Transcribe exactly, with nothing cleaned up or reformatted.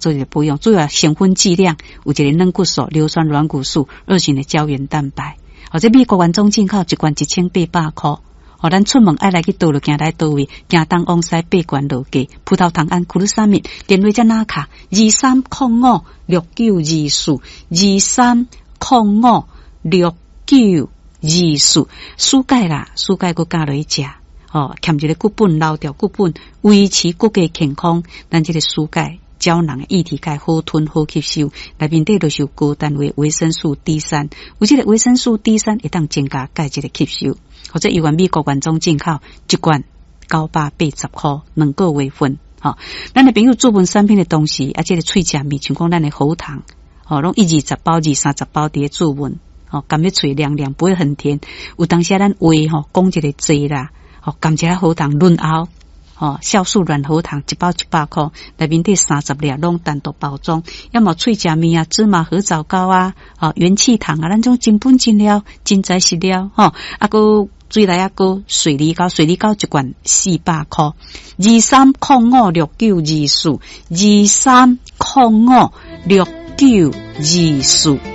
做一个保養。主要成分劑量有一個軟骨素、硫酸軟骨素、二型的膠原蛋白。或者美國原裝進口一罐一千八百箍。予咱出門愛來去佗落，行來佗位，行東往西爬懸落低，葡萄糖胺、glucosamine，電話遮拿卡二三空五六九二四，二三空五六九二四，舒鈣啦，舒鈣閣加落去食，吼，欠一个骨本留掉骨本，維持骨骼健康，咱這个舒鈣膠囊的液體鈣好吞好吸收，內面底就是有高單位維生素 D 三，有這个維生素 D 三會當增加鈣質的吸收。或者猶原美國原裝進口一罐九百八十箍兩個月份，吼，咱的朋友注文產品的同時，啊，這个喙食物，像講咱的喉糖，吼，攏一二十包、二三十包佇咧注文，吼，含咧喙涼涼，不會很甜。有當時咱話吼講一个濟啦，吼，含一下喉糖潤喉，吼，酵素軟喉糖一包一百箍，內面底三十粒攏單獨包裝，要麼喙食物啊，芝麻褐藻膏啊，吼，元氣糖啊，咱種真本真料，真材實料，吼，啊，閣水來啊，閣水梨膏，水梨膏一罐四百箍，二三空五六九二四，二三空五六九二四。